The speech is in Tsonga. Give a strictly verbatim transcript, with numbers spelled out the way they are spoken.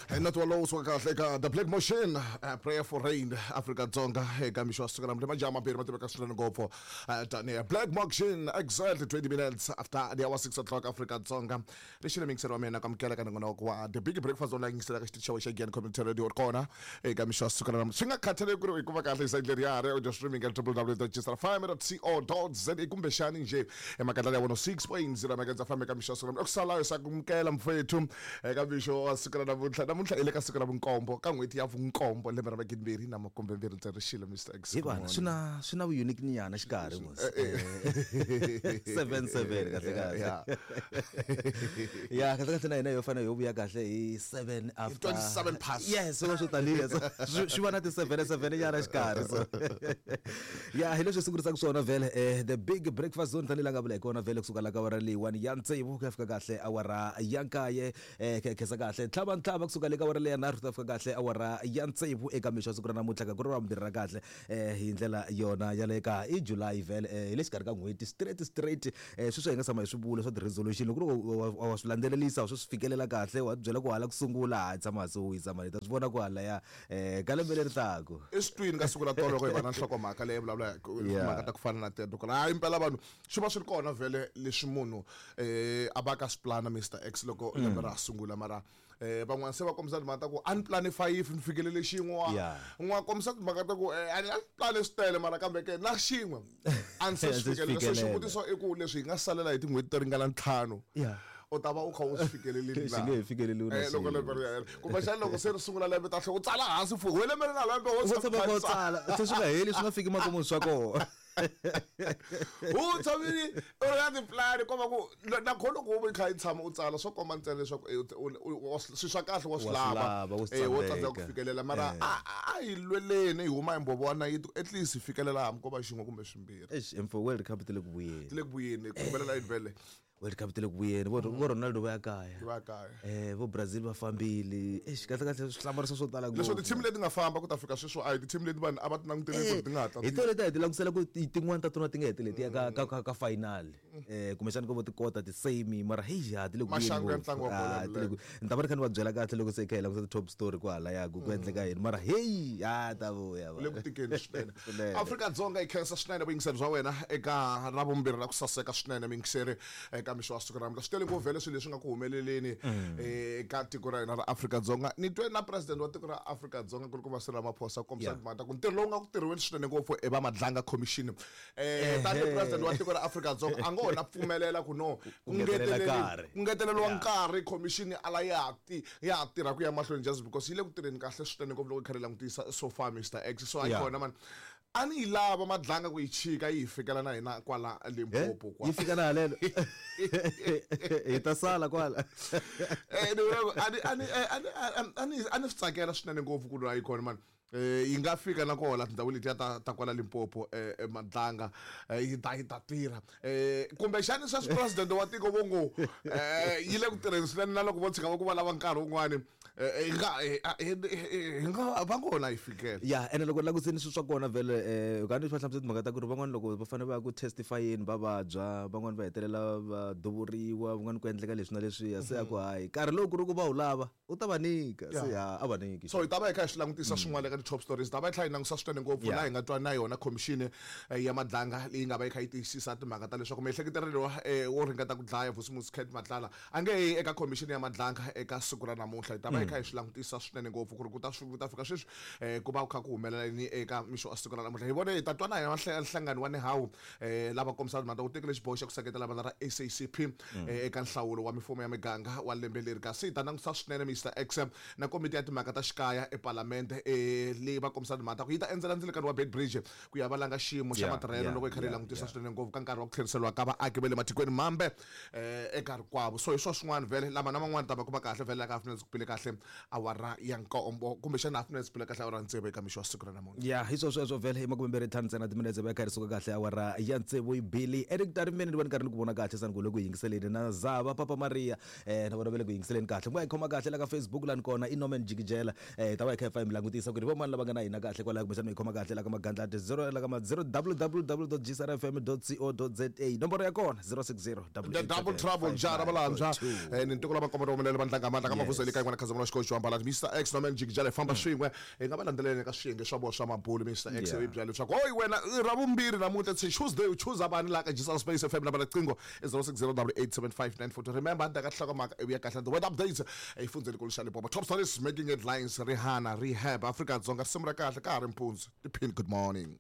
Not walowo suka kahle eka The Black Motion, uh, Prayer for Rain, Afrika Dzonga eka mixo wa siku namuntlha majaha mambirhi ma tiveka swinene ngopfu uh, tanihi Black Motion, exactly twenty minutes after the hour six o'clock Afrika Dzonga. Lexi le mingiselo wa mina ka mukela ka nongonoko wa The Big Breakfast online yingisela ka xitichi xa Giyani Community Radio kona eka mixo wa siku namuntlha. Swi nga khathaleki ku ri i kuma kahle hi side leriya ri audio streaming at w w w dot g s r f m dot co dot z a kumbexani nje emakatala ya one oh six point zero megahertz F M eka mixo wa siku namuntlha. Okusalayo sakumukela mfowethu eka mixo wa siku namuntlha. Namuntlha i le ka siku ra vunkombo ka n'hweti ya vunkombo lembe ra magidimbirhi na makumbe mbirhi ndzi ri xilo Mister X. Hi vana swi na swi na unique nyana xikarhi mos. seven seven kahle kahle. Ya kahle kahle na hina yo fana yo vuya kahle hi seven after twenty-seven past. Yes, so swo taniya so swi va na ti seven seven nyana xikarhi so. Ya hi leswi sungurisa swona vele eh The Big Breakfast Zone tani la nga vula hi kona vele kusuka la ka awara leyi one ya tsevu ku ya fika kahle awara ya nkaye eh khensa kahle ntlhava ntlhava kusuka le ka awara leyi nharhu ku ta fika kahle awara ya tsevu eka mixo siku ra namuntlha ka ku ri ra vumbirhi ra kahle eh hi ndlela yona ya le ka i July vele eh hi le xikarhi ka n'hweti straight straight eh sweswo hi nga tshama hi swi vula swa ti-resolution loko ri wa swi landzelerisa wa swi swi fikelela kahle wa byela ku hala ku sungula ha tshama hansi u wisa mali ta swi vona ku hala ya eh ka lembe leri taku eswitwini ka siku ra tolo loko hi va na nhlokomhaka leyi vulavula timhaka ta ku fana na teto ku hayi impela vanhu swi va swi ri kona vhele leswi munhu eh a va ka swi plana Mister X loko lembe ra sungula mara eh van'wana se va kombisa timhaka ta ku a ni plane five ni fikelele xin'we n'wa kombisa timhaka ta ku a ni plane swi tele mara kambe ke na xin'we a ni se swi fikelela. So xivutiso i ku leswi hi nga salela hi tin'hweti to ringana ntlhanu u ta va u kha u swi fikelelile na xi nge fikeleli na loko lembe ri hela kumbexana loko se ri sungula lembe ta tlhela u tsala hansi fu we lembe ri na lembe wo tshama u tsala se swi nga heli swi nga fiki makumu swa kona u tshamile u ri na tipulani komba ku na kho loko u kha i tshama u tsala swo komba ntsena leswaku swilo swa kahle wa swi lava wo tsandzeka ku fikelela mara a hi lweleni hi huma hi mbhovo wa nayiti at least hi fikelela hambi ko va xin'we kumbe swimbirhi. Eish mfo World Cup ti le ku vuyeni ti le ku vuyeni ku humelela yini vhele World Cup ti le ku vuyeni vo vo Ronaldo va ya kaya va ya kaya eh vo Brazil va fambile eish kahle kahle swi hlamariso swo tala ngopfu leswo ti-team leti nga famba ku ta fika sweswo a hi ti-team leti vanhu a va ti langutele ku ti nga ta hi tona leti a hi ti langutisela ku tin'wana ta tona ti nga heteleti ya ka ka ka final eh kumbexana ko vo ti kota ti-semi mara hey ya ti le ku maxangu ya ntlangu wa bolo ni ta va ri kha ni va byela kahle loko se hi kha hi langutisa ti-top story kwalaya ku ku endleka yini mara hey ya ta vuya le ku tikeni swinene. Afrika Dzonga yi khensa swinene vuyingiseri bya wena eka ra vumbirhi ra ku saseka swinene miyingiseri eka mixo wa siku ra namuntlha. Swi tele ngopfu vhele swilo leswi nga ku humeleleni eka tiko ra hina ra Afrika Dzonga. Ni twe na president wa tiko ra Afrika Dzonga ku ri ku va Cyril Ramaphosa kombisa timhaka ta ku ntirho lowu nga ku tirhiweni swinene ngopfu i va Madlanga Commission eh tanihi president wa tiko ra Afrika Dzonga a ngo na pfumelela ku no ku ngeteleriwa nkarhi commission a la ya ti ya tirha ku ya mahlweni just because yi le ku tirheni kahle swinene ngopfu loko yi kha yi langutisa so far Mister X. So a yi kona man a ni yi lava Madlanga ku yi chika yi hi fikela na hina kwala Limpopo kwa yi fika na halelo hi ta sala kwala eh ni a ni a ni a ni swi tsakela swinene ngopfu ku yi kona man eh yi nga fika na kola tindhawu letiya ta ta kwala Limpopo eh Madlanga yi ta yi ta tirha eh kumbexani sweswi president wa tiko vo ngo eh yi le ku tirheni swinene na loko vo tshika va ku va lava nkarhi wun'wani hi nga hi nga va ngona yi fikela ya ene loko languseni swilo swa kona vhele eh ka ni swi hlamusela timhaka ta ku ri van'wani loko va fanele va ya ku testifyeni va vabya van'wani va hetelela va duvuriwa van'wani ku endleka leswi na leswiya se ya ku hayi nkarhi lowu ku ri ku va wu lava u ta va nyika se ya a va nyiki. So hi ta va hi kha hi swi langutisa swin'wana eka ti-top stories ta va hi tlhela hi langutisa swinene ngopfu laha hi nga twa na yona commission ya Madlanga leyi nga va yi kha yi tiyisisa timhaka ta leswaku miehleketeleriwa wo ringeta ku dlaya Vusimuzi Cat Matlala a nge yi eka commission ya Madlanga eka siku ra namuntlha. Hi ta va hi kha hi swi langutisa swinene ngopfu ku ri ku ta ku ta fika sweswi ku va ku kha ku humelela yini eka mixo wa siku ra namuntlha. Hi vone hi ta twa na hina nhlangano wa Nehawu lava kombisaka timhaka ta ku tekile xiboho xa ku seketela vandla ra S A C P eka nhlawulo wa mifumo ya miganga wa lembe leri. Kasi hi ta langutisa swinene Mister X na komiti ya timhaka ta xikaya epalamende leyi va kombisa timhaka ta ku yi ta endzela ndzilekano wa Beitbridge ku ya valanga xiyimo xa matirhelo loko yi kha yi langutisa swinene ngopfu ka nkarhi wa ku tlheriseriwa ka vaaki va le matikweni mambe eka rikwavo. So hi swo swin'wana vhele lama na man'wana ta va kuma kahle vhele la ka half minutes ku pile kahle awara ya nkombo kumbexana half minutes pile kahle awara tsevu eka mixo wa siku ra namuntlha. Ya hi swo sweswo vhele hi makume mbirhi ntlhanu ntsena timinetse va kha ri suka kahle awara ya tsevu yi bili Eric Tarimeni ni vona karhi ni ku vona kahle sani ku le ku yingiseleni na Zava Papa Maria eh na vona va le ku yingiseleni kahle ku nga yi khoma kahle la ka Facebook lani kona i Norman Jikijela eh ta va hi kha hi fa hi mi langutisa ku ri vo mani lava nga na hina kahle kwalaho kumbexana mi yi khoma kahle la ka magandlati zero la ka ma zero www dot gsrfm dot co dot za nomboro ya kona zero six zero The double trouble jara valantshwa eh, ni ntiko lava komba humelela vandlanga mandla ka mavuseli ka yin'wana khazamula xikolo xo ambala Mr X na Magic Jale famba swin'we hi nga va landzeleni ka swiyenge swa vona swa mabulu Mr X Yeah. i byela leswaku oyi wena i ra vumbirhi namuntlha it's a Tuesday u choose vani la ka Gisal Space F M namba riqingho i zero six zero double eight seven five nine four two remember handle ka nhlokomhaka ivi ya kahle the weather updates efundzeni kulu xa Limpopo top stories making headlines Rihanna rehab Afrika-Dzonga risimu ra kahle ka ha ri mpundzu tiphini good morning.